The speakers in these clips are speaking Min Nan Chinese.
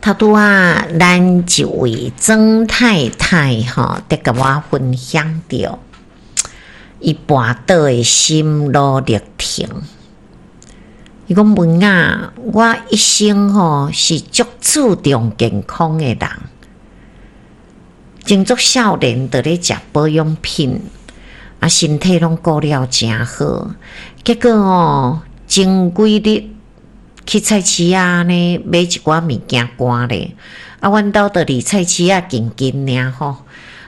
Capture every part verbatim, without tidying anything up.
頭拄仔，咱一位曾太太吼，佇共我分享著伊跋倒的心路歷程。伊講文雅，我一生吼是足注重健康的人，前足少年就咧食保養品，啊，身體攏顧了誠好。結果吼，前幾日去菜市仔呢買一寡物件寒咧，啊，阮兜就離菜市仔近近爾吼，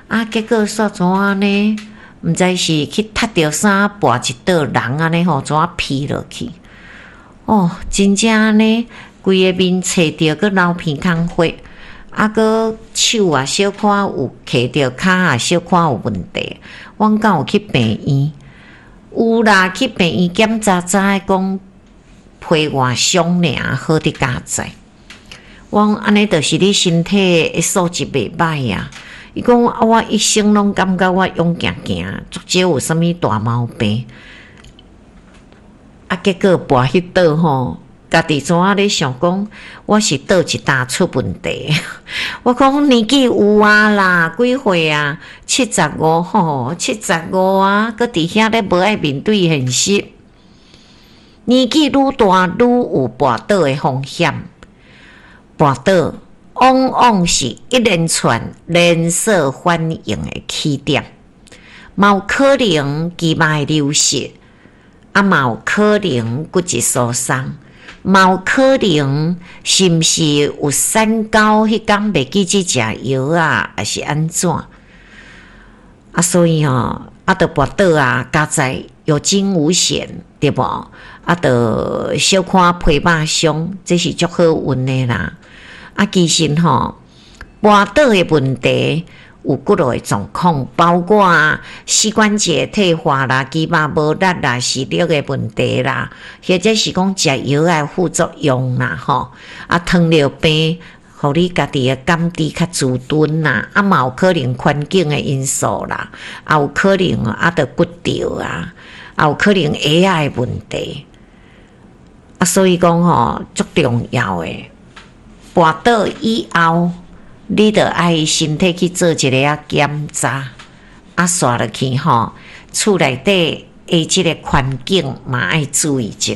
啊，結果煞怎按呢？毋知是去踢著啥，跋一倒人按呢吼，怎啊飛落去？哦，真正按呢，規个面切著，閣流鼻空血，啊，閣手啊小可有磕著，跤啊小可有問題。阮敢有去病院？有啦，去病院檢查，知影講皮外傷爾，好佇佳哉。我講按呢，就是你身體的素質袂䆀啊。伊講啊，我一生攏感覺我勇行行，足少有啥物大毛病。啊，結果跋彼倒吼，家己怎啊咧想講，我是佗一搭出問題。我講年紀有啊啦，幾歲啊？七十五吼，七十五啊，閣佇遐咧無愛面對現實。年紀愈大，愈有跋倒的風險。跋倒往往是一連串連鎖反應的起點，嘛有可能肌肉的流失，啊，嘛有可能骨質疏鬆，嘛有可能是毋是有三高？彼工袂記得食藥啊，抑是按怎？啊，所以吼，啊，著跋倒啊，佳哉有驚無險，對無？啊，著小可皮肉傷，這是足好運的啦。啊，其實吼，跋倒的問題有幾落個狀況，包括膝關節退化啦、肌肉無力啦、視力的問題啦，或者是講食藥的副作用啦，吼啊，糖尿病，予你家己的感知較遲鈍啦，啊，嘛有可能環境的因素啦，啊，有可能啊，著骨折啊，啊，有可能鞋仔的問題，啊，所以講吼，足重要的。跋倒以後，你著愛身體去做一个仔檢查，啊，煞落去吼，厝內底的這个環境嘛愛注意一下，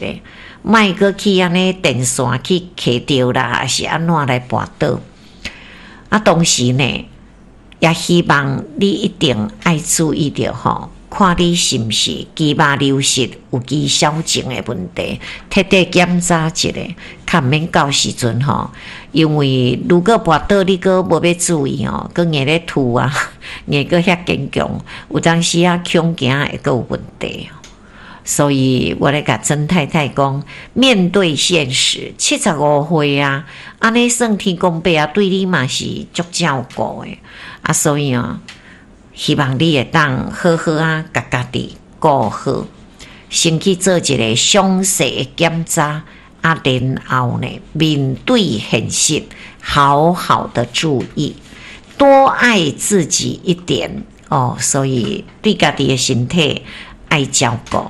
莫閣去按呢電線去磕著啦，抑是按怎來跋倒。啊，同時呢，也希望你一定愛注意著吼，看你是毋是肌肉流失有肌少症的問題，徹底檢查一下，較毋免到時陣吼。因為如果跋倒你閣無欲注意吼，閣硬咧吐啊，硬閣遐堅強，有當時啊恐驚會閣有問題。所以我咧共曾太太講，面對現實，七十五歲啊，按呢算天公伯啊，對你嘛是足照顧的啊，所以哦，希望你會當好好啊，共家己顧好，先去做一個詳細的檢查，啊，然後呢，面對現實，好好的注意，多愛自己一點哦。所以對家己的身體愛照顧。